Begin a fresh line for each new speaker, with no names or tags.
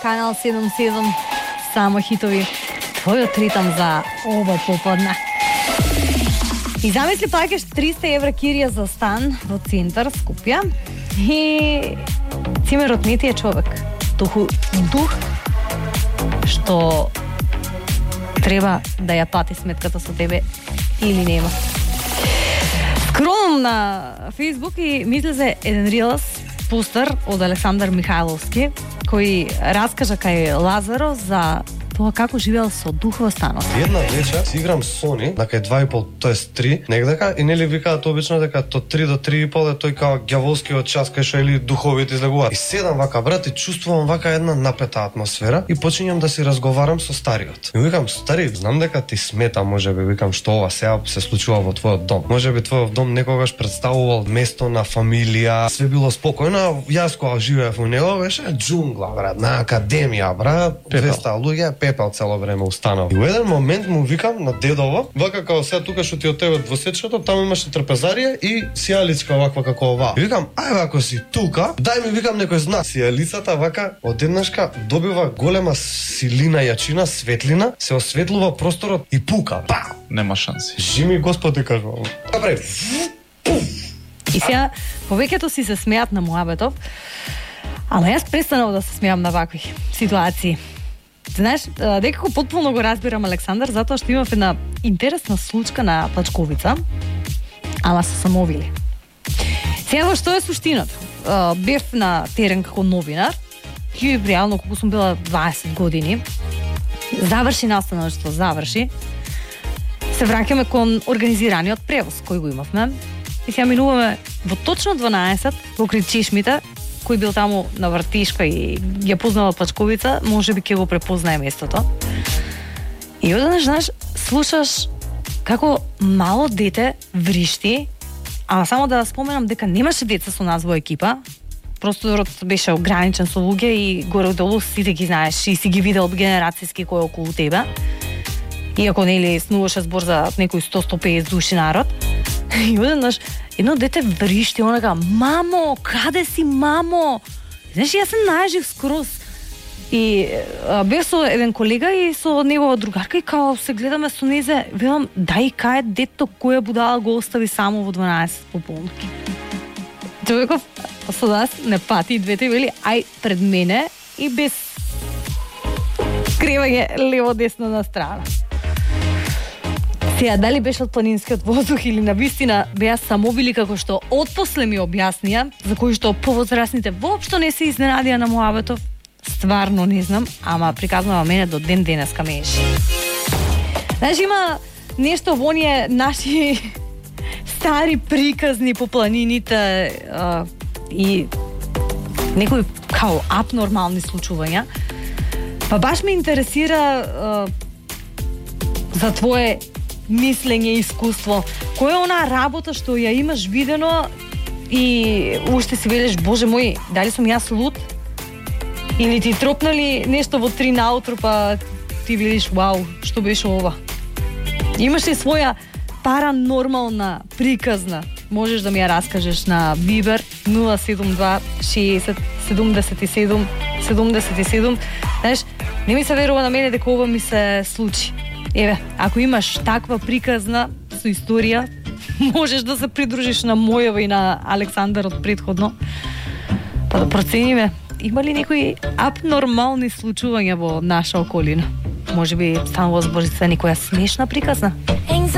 Канал 77, само хитови. Твојот ритам за ова поподне. И замисли плаќаш 300 евра кирија за стан во центар Скопје и цимерот не ти е човек. Дух што треба да ја плати сметката со тебе или нема. Скролнам на Facebook и мисли за еден рилс постер од Александар Михайловски кој раскажа кај Лазаро за тоа како живеел со дух во станот.
Една вечер си играм Сони, на кај 2,5, тоест 3, негдека, и нели викаат обично дека од 3 до 3,5 е тој као ѓаволскиот час кај што или духовите излегуваат. И седам вака, брат, и чувствувам вака една напета атмосфера и почињам да си разговарам со стариот. И викам, стари, знам дека ти смета, можеби, викам, што ова сега се случува во твојот дом. Можеби твојот дом некогаш представувал место на фамилија, све било спокојно, јас кога живеев во него беше џунгла, брат, на академија, брат, 200 луѓе, пепел цело време устанал. И во еден момент му викам на дедово, вака као сега тука што ти од тебе двосечкото, таму имаше трпезарија и сијаличка ваква како ова. И викам, ајде ако си тука, дај ми, викам, некој знак. Сијалицата вака одеднашка добива голема силина, јачина, светлина, се осветлува просторот и пука. Па!
Нема шанси.
Жими Господи, кажувам. Добре.
И сега повеќето си се смеат на муабетов, ама јас престанав да се смеам на вакви ситуации. Знаеш, некако потполно го разбирам Александар, затоа што имав една интересна случка на Плачковица, ама се самовили. Сега што е суштината? Бев на терен како новинар, и реално колку сум била 20 години, заврши наставништво, заврши, се враќаме кон организираниот превоз кој го имавме, и сега минуваме во точно 12 покрај чешмите, кој бил таму на вртишка и ја познава Плачковица, можеби ќе го препознае местото. И одеднаш, знаеш, слушаш како мало дете вришти, ама само да споменам дека немаше деца со нас во екипа, просторот беше ограничен со луѓе и горе-долу сите ги знаеш и си ги видел генерацијски кој околу тебе. Иако нели снуваше збор за некои 100-150 души народ. И одеднаш едно дете вришти, онака, мамо, каде си, мамо? Знаеш, јас се најжив скроз. И бев со еден колега и со негова другарка и као се гледаме со незе, велам, дај кај дето која будала го остави само во 12 пополно. Човеков со нас не пати и двете вели, ај пред мене и без скривање лево-десно на страна. Сега, дали беше од планинскиот воздух или на вистина беа самовили како што отпосле ми објаснија, за кои што повозрасните воопшто не се изненадија на муабетов, стварно не знам, ама приказнува мене до ден денеска мејши. Знаеш, има нешто во оние наши стари приказни по планините и некои као абнормални случувања. Па баш ме интересира за твое мислење и искуство. Која е онаа работа што ја имаш видено и уште си велиш, боже мој, дали сум јас луд? Или ти тропнали нешто во 3 наутро, па ти велиш, вау, што беше ова? Имаш ли своја паранормална приказна? Можеш да ми ја раскажеш на Viber 072 60 77 77. Знаеш, не ми се верува на мене дека ова ми се случи. Еве, ако имаш таква приказна со историја, можеш да се придружиш на мојава и на Александар од претходно. Па да процениме, има ли некои абнормални случувања во наша околина? Можеби станува збор за некоја смешна приказна?